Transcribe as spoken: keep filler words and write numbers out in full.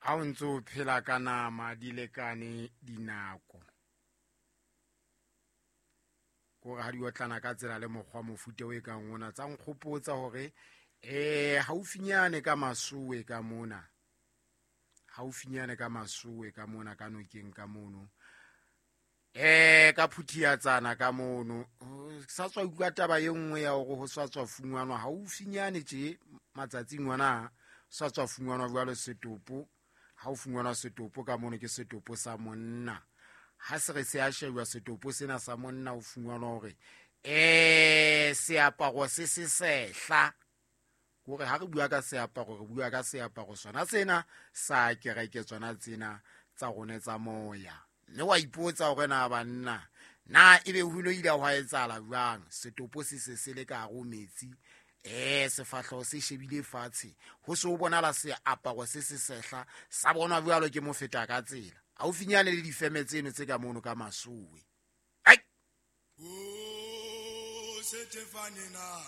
Ha o ntse o phela ka nama di lekane dinako, kore ha di otlana ka tsela le mokgwa mofuta o e kang ona tsa nkgopotsa hore um haufinyane ka Masowe ka mona, haufinyane ka Masowe ka mona ka nokeng ka mono, um ka Phuthiatsana ka mono, sa tswa utlwa taba e nngwe ya hore ho sa tswa fungwanwa haufinyane tje matsatsing ona, sa tswa fungwanwa jwalo setopo. Ha o fungwanwa setopo ka mono ke setopo sa monna. Ha se re se a shejwa setopo sena sa monna, o fungwanwa hore um seaparo se se sehla, kore ha re bua ka seaparo re bua ka seaparo sona sena sa kereke, tsona tsena tsa rona tsa moya. Mme wa ipotsa hore na banna na ebe ho ile ile hwa etsahala jwang, setopo se se se le ka hare ho metsi, eh sefahleho se shebile fatshe, ho se ho bonala seaparo se se sehla sa bonwa jwalo ke mofeta ka tsela haufinyane le difeme tseno tse ka mono ka Masowe. Ai! O Setefane na